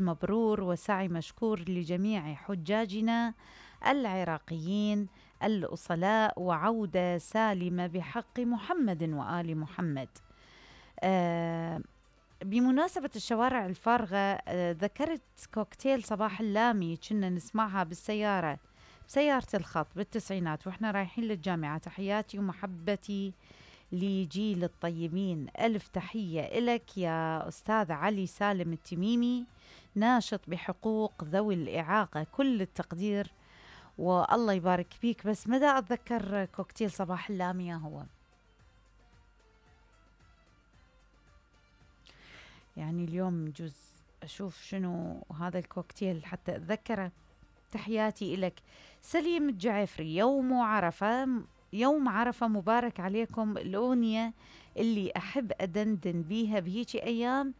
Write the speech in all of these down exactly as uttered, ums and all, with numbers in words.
مبرور وسعي مشكور لجميع حجاجنا العراقيين الأصلاء، وعودة سالمة بحق محمد وآل محمد. آه بمناسبة الشوارع الفارغة، آه ذكرت كوكتيل صباح اللامي كنا نسمعها بالسيارة بسيارة الخط بالتسعينات وإحنا رايحين للجامعة. تحياتي ومحبتي لجيل الطيبين. ألف تحية إلك يا أستاذ علي سالم التميمي، ناشط بحقوق ذوي الإعاقة. كل التقدير والله يبارك فيك. بس مدى أتذكر كوكتيل صباح اللامية هو يعني اليوم جزء أشوف شنو هذا الكوكتيل حتى أتذكره. تحياتي إلك سليم الجعفري. يوم عرفة، يوم عرفة مبارك عليكم. الأغنية اللي أحب أدندن بيها بهيجي أيام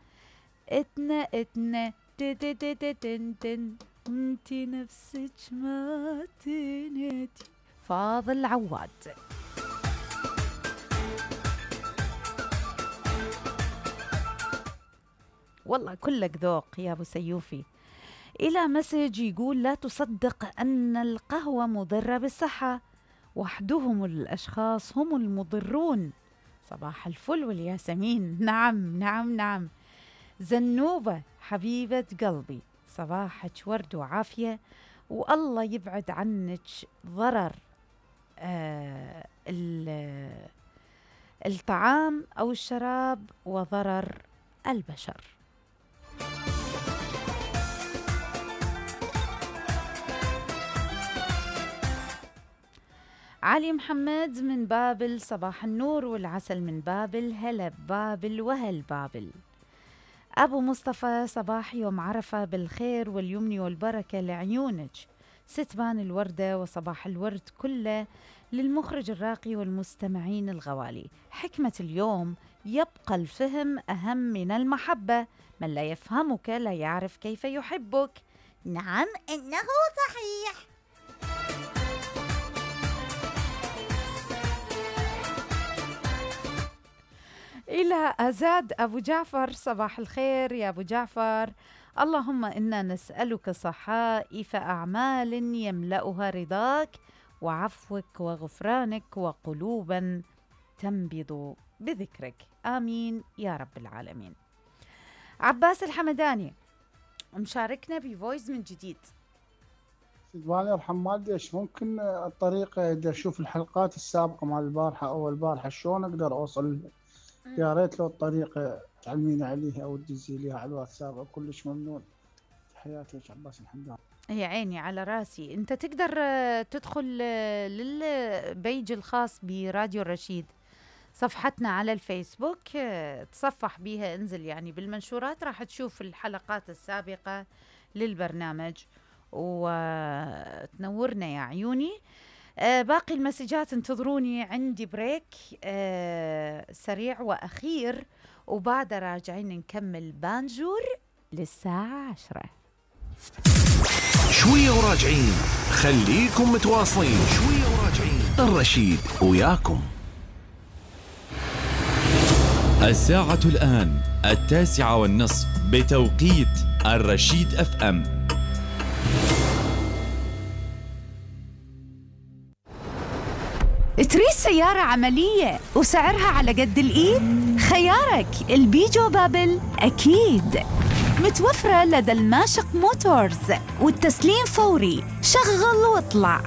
اتنا اتنا تن انتي نفسك ما تنتي. فاضل عواد. والله كلك ذوق يا أبو سيوفي. إلى مسج يقول لا تصدق أن القهوة مضرة بالصحة، وحدهم الأشخاص هم المضرون. صباح الفل والياسمين. نعم نعم نعم. زنوبة حبيبة قلبي، صباحك ورد وعافية، والله يبعد عنك ضرر آه الطعام أو الشراب وضرر البشر. علي محمد من بابل، صباح النور والعسل من بابل. هلا بابل وهل بابل. أبو مصطفى، صباح يوم عرفة بالخير واليمن والبركة لعيونك. ستبان الوردة وصباح الورد كله للمخرج الراقي والمستمعين الغوالي. حكمة اليوم: يبقى الفهم أهم من المحبة، من لا يفهمك لا يعرف كيف يحبك. نعم إنه صحيح. إلى أزاد أبو جعفر، صباح الخير يا أبو جعفر. اللهم إنا نسألك صحائف أعمال يملأها رضاك وعفوك وغفرانك، وقلوبا تنبض بذكرك. آمين يا رب العالمين. عباس الحمداني مشاركنا بفويس من جديد. سيدواني يرحم والدي، ايش ممكن الطريقة إذا أشوف الحلقات السابقة مع البارحة أو البارحة شلون أقدر أوصل؟ يا ريت لو الطريقة تعلميني عليها أو تدزي ليها على الواتساب، كلش ممنون. تحياتي عباس الحمداني. يا عيني على راسي. انت تقدر تدخل للبيج الخاص براديو الرشيد، صفحتنا على الفيسبوك، تصفح بيها، انزل يعني بالمنشورات راح تشوف الحلقات السابقة للبرنامج وتنورنا يا عيوني. آه باقي المسجات انتظروني، عندي بريك آه سريع وأخير، وبعد راجعين نكمل بانجور للساعة عشرة. شوية وراجعين، خليكم متواصلين. شوية وراجعين، الرشيد وياكم. الساعة الآن التاسعة والنصف بتوقيت الرشيد اف ام. تريد سيارة عملية وسعرها على قد الإيد؟ خيارك البيجو بابل أكيد. متوفرة لدى الماشق موتورز، والتسليم فوري، شغل واطلع.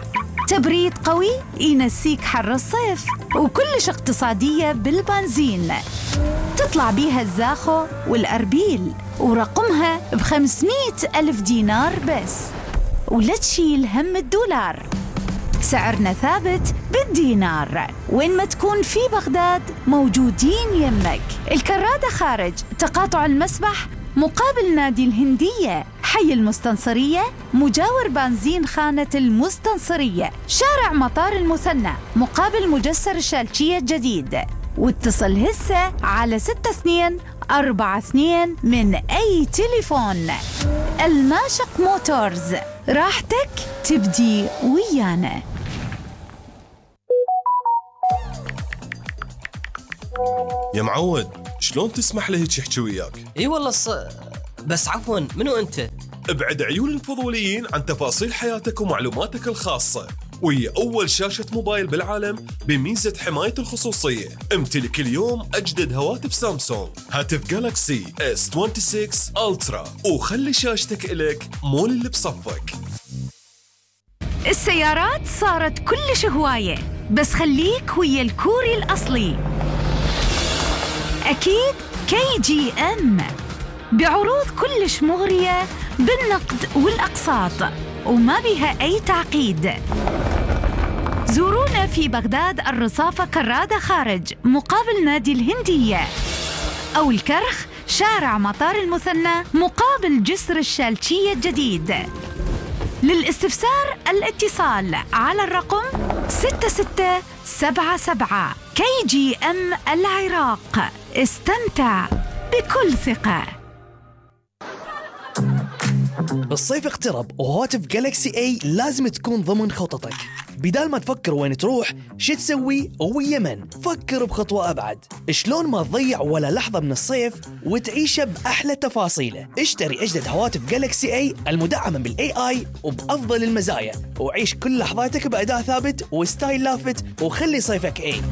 تبريد قوي ينسيك حر الصيف، وكلش اقتصادية بالبنزين. تطلع بيها الزاخو والأربيل، ورقمها بخمسمائة ألف دينار بس، ولا تشيل هم الدولار. سعرنا ثابت بالدينار، وين ما تكون في بغداد موجودين يمك. الكرادة خارج تقاطع المسبح مقابل نادي الهندية، حي المستنصرية مجاور بنزين خانة المستنصرية، شارع مطار المثنى مقابل مجسر الشالشية الجديد. واتصل هسه على ستة اثنين أربعة اثنين من أي تليفون. الماشق موتورز، راحتك تبدي ويانا. يا معود، شلون تسمح له هيك يحكي وياك؟ اي والله الص... بس عفواً، منو أنت؟ ابعد عيون الفضوليين عن تفاصيل حياتك ومعلوماتك الخاصة، وهي أول شاشة موبايل بالعالم بميزة حماية الخصوصية. امتلك اليوم أجدد هواتف سامسونج، هاتف جالاكسي إس ستة وعشرين ألترا، وخلي شاشتك إلك مو اللي بصفك. السيارات صارت كلش هواية، بس خليك ويا الكوري الأصلي. أكيد كي جي أم بعروض كلش مغرية بالنقد والأقساط وما بها أي تعقيد. زورونا في بغداد الرصافة كرادة خارج مقابل نادي الهندية، أو الكرخ شارع مطار المثنى مقابل جسر الشالشية الجديد. للاستفسار الاتصال على الرقم ستة ستة سبعة سبعة. كي جي أم العراق، استمتع بكل ثقة. الصيف اقترب وهواتف جالكسي اي لازم تكون ضمن خططك. بدال ما تفكر وين تروح شو تسوي ويمن، فكر بخطوة أبعد. شلون ما تضيع ولا لحظة من الصيف وتعيشه بأحلى تفاصيله. اشتري أجدد هواتف جالكسي اي المدعمة بالاي اي وبأفضل المزايا، وعيش كل لحظاتك بأداء ثابت وستايل لافت، وخلي صيفك اي.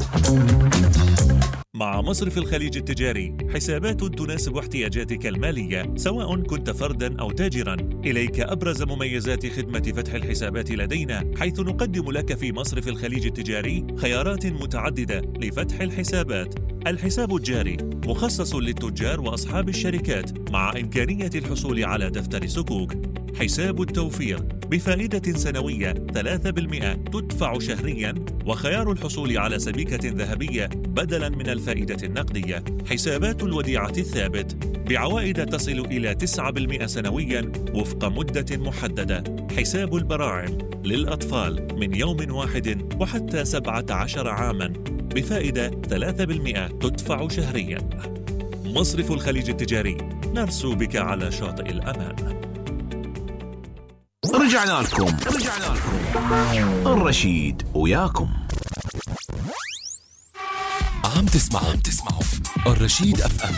مع مصرف الخليج التجاري حسابات تناسب احتياجاتك المالية سواء كنت فرداً أو تاجراً. إليك أبرز مميزات خدمة فتح الحسابات لدينا، حيث نقدم لك في مصرف الخليج التجاري خيارات متعددة لفتح الحسابات. الحساب الجاري مخصص للتجار وأصحاب الشركات مع إمكانية الحصول على دفتر سكوك. حساب التوفير بفائدة سنوية ثلاثة بالمئة تدفع شهرياً، وخيار الحصول على سبيكة ذهبية بدلاً من الفائدة النقدية. حسابات الوديعة الثابت بعوائد تصل إلى تسعة بالمئة سنوياً وفق مدة محددة. حساب البراعم للأطفال من يوم واحد وحتى سبعة عشر عاماً بفائدة ثلاثة بالمئة تدفع شهرياً. مصرف الخليج التجاري، نرسو بك على شاطئ الأمان. رجعنا لكم رجعنا لكم الرشيد وياكم. عم تسمعوا عم تسمعوا الرشيد اف ام.